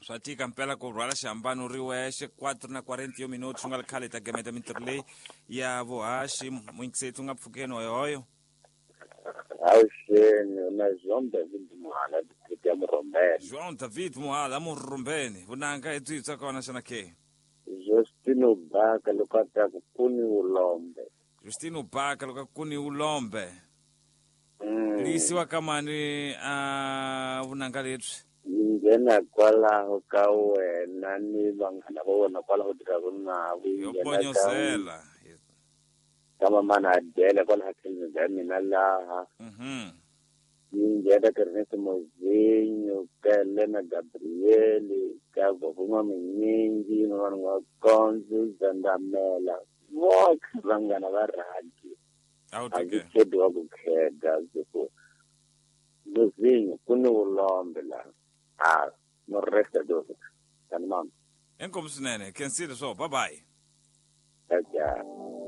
Swa tika mpela ku rhwala xihambano ri wexe. 4 na 40 minuti swi nga ri khale hi ta gemeta mintirho leyi ya vuhaxi. Muyingiseti u nga pfukeni hoyohoyo. Avuxeni na João David Muhala, district ya Murombeni. João David Muhala, Murombeni. Vunanga hi byi bya kona xana ke? Justino Baka loko a ta ku kuni ulombe. Justino Baka loko a kuni ulombe. Li yisiwa ka mani a vunanga lebyi? Yi nghena kwalaho ka wena ni vanghana va wena kwalaho tirhaka navo. Yi Yo nghena ka ponyozela. Ka mamana Adele kwalaha tlhelweni bya mina laha. Yi nghena ka Ernest Mozinho, ka Elena Gabriel, ka Vavuma Minyingi, Mamani N'wakondzo, Zandamela, votlhe vanghana va rhadi. A wu A ndzi tike. khedi wa ku kheda ndzi ku Mozinho ku ni vulombe laha. A no resta dose. Tani mama. Inkomu swinene. Khensile swo. Bye bye. Ciao ciao.